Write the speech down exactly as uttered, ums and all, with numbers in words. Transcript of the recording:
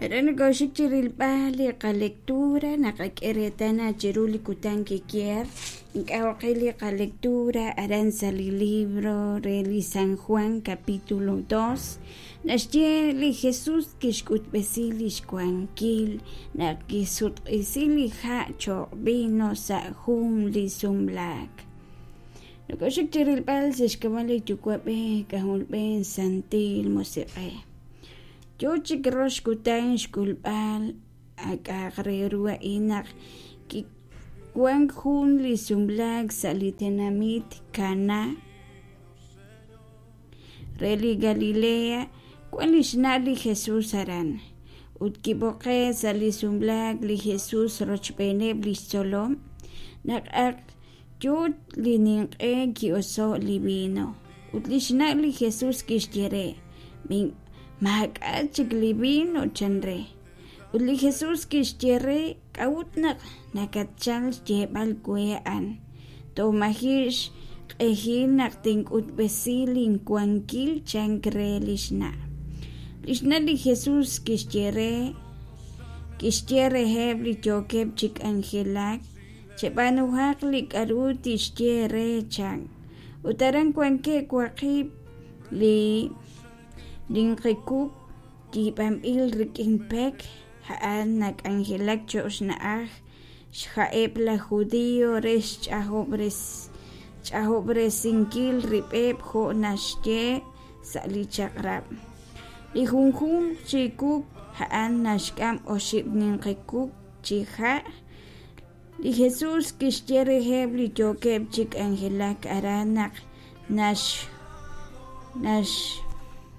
Aran nokooxik chi rilb'al li qalectura naqak'e reetal naq chiru li kutan kikier ink'a' oqil li qalectura aran sa' li libro re li San Juan capítulo dos naxye li Jesús kixk'utb'esi li xwankil naq kisutq'isi li ha' cho'q vino sa' jun li sumlaak. Nokooxik chi rilb'al sa' xk'ab'a' li Yuwa'b'ej K'ajolb'ej Santil Musiq'ej. Yo chik rox kutan xk'ulb'al a k'a'aq re ru a'in naq kiwank jun li sumlaak sa' li tenamit Caná re li Galilea, wank li xna' li Jesus aran. Ut kib'oqe'k sa' li sumlaak li Jesus rochb'eeneb' li xtzolom. Naq ak yo li ninq'e ki'oso'k li vino, ut li xna' li Jesus kixye re: Maak'a' chik li vino, chan re. Ut li Jesus kixye re: K'a'ut naq nakatchalk xyeeb'al we a'an? Toj maji' xq'ehil naq tink'utb'esi linwankil, chank re li xna'. Li xna' li Jesus kixye re kixye reheb' li yookeb' chi k'anjelak: Cheb'aanuhaq li k'aru tixye eere, chan. Ut aran wankeb' waqib' li ninqi kuk yiib'anb'il rik'in pek, a'an nak'anjelak cho'q xna'aj xha'eb' laj Judiiy re xch'ajob'resinkil rib'eb' jo' naxye sa' li Chaq'rab'. Li junjunq chi kuk a'an naxk'am oxib' ninqi kuk chi ha'. Li Jesus kixye reheb' li yookeb' chi k'anjelak aran naq